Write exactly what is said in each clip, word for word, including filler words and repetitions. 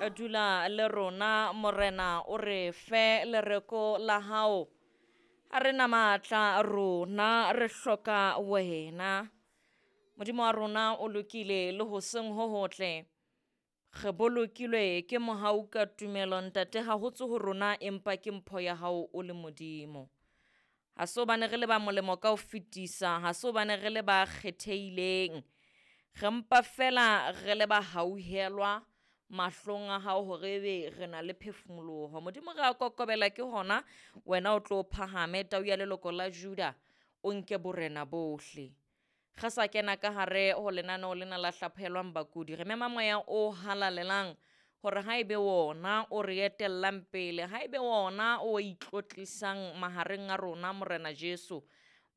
Dula le rona Morena, o re fe lereko la hao. Ha re na matla rona, re hloka wena. Modimo wa rona o lokile le hoseng ho hotle. Re bolokilwe ke mohau ka tumelo ntate, ha ho tswe ho rona empa ke mpho ya hao o le Modimo. Ha se hobane re le ba molemo ka ho fetisa, ha se hobane re le ba kgethehileng, re mpa fela re le ba hauhelwa mahlong a hao hore ebe re na le phefumoloho. Modimo re a kokobela ke hona, wena o tlo phahame tau ya leloko la Juda, o nke borena bohle. Re sa kena ka hare ho lenaneo lena la hlaphohelwang bakudi, re mema moya o halalelang hore ha ebe wona o re etellang pele, ha ebe wona o itlotlisang mahareng a rona Morena Jesu.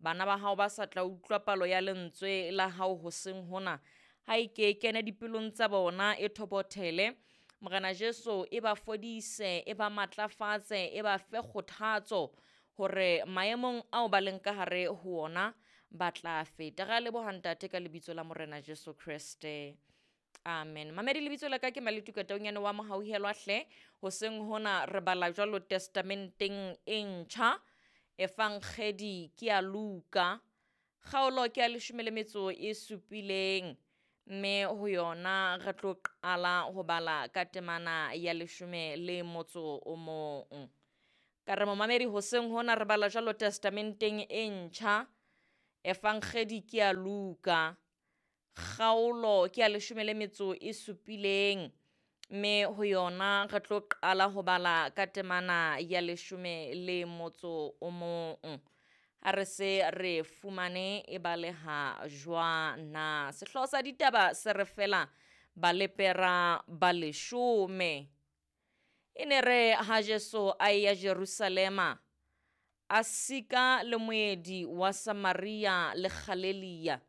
Bana ba hao ba sa tla utlwa palo ya lentswe la hao hoseng hona, ha e ke e kene dipelong tsa bona e thobothele. Morena Jesu e ba fodise, e ba matlafatse, e ba fe kgothatso hore maemong ao ba leng ka hare ho ona ba tla feta. Re a leboha ntate ka lebitso la Morena Jesu Kreste. Amen. Mamedi, lebitso la ka ke Maletuka Taunyane wa Mohauhelwa hle. Hoseng hona re bala jwalo testamenteng e ntjha, Evangedi ke ya Luka, kgaolo ke ya leshome le metso e supileng, mme ho yona re tlo qala ho bala ka temana ya leshome le motso o mong. Ka re momamedi hoseng hona re bala jwalo testamenteng e ntjha, Evangedi ke ya Luka, kgaolo ke ya leshome le metso e supileng, mme ho yona re tlo qala ho bala ka temana ya leshome le motso o mong. Ha re se re fumane e baleha jwana. Sehlooho sa ditaba se re fela balepera ba leshome. E ne re ha Jesu a eya Jerusalema, a sika le moedi wa Samaria le Galelia.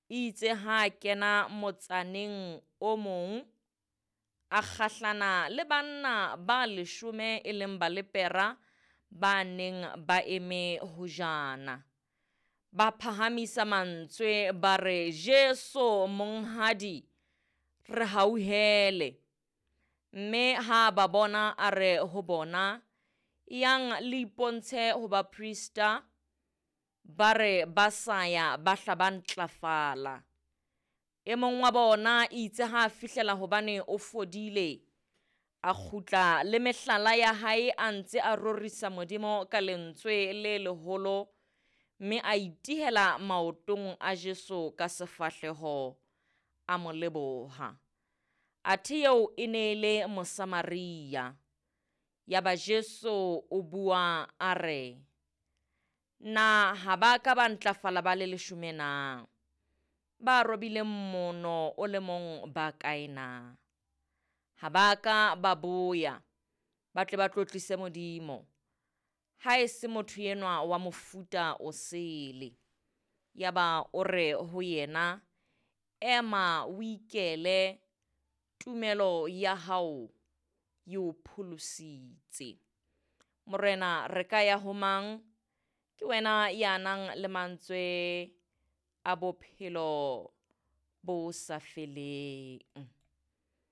Itse ha a kena motsaneng o mong, a kgahlana le banna ba leshome e leng balepera ba neng ba eme hojana. Ba phahamisa mantswe ba re, Jesu monghadi, re hauhele. Mme ha ba bona a re ho bona, yang le ipontshe ho baprista. Ba re ba sa ya ba hla ba ntlafala. E mong wa bona itse ha a fihlela hobane o fodile, a kgutla le mehlala ya hae a ntse a rorisa Modimo ka lentswe le leholo, mme a itihela maotong a Jesu ka sefahleho, a mo leboha. Athe eo e ne e le Mosamaria. Yaba Jesu o bua a re, na ha ba ka ba ntlafala ba le leshome na? Ba robileng mono o le mong ba kae na? Ha ba ka ba boya, ba tle ba tlotlise Modimo. Ha e se motho enwa wa mofuta o sele. Yaba o re ho yena, ema o ikele, tumelo ya hao e o pholositse. Morena, re ka ya ho mang? Ke wena ya nang le mantswe a bophelo bo sa feleng.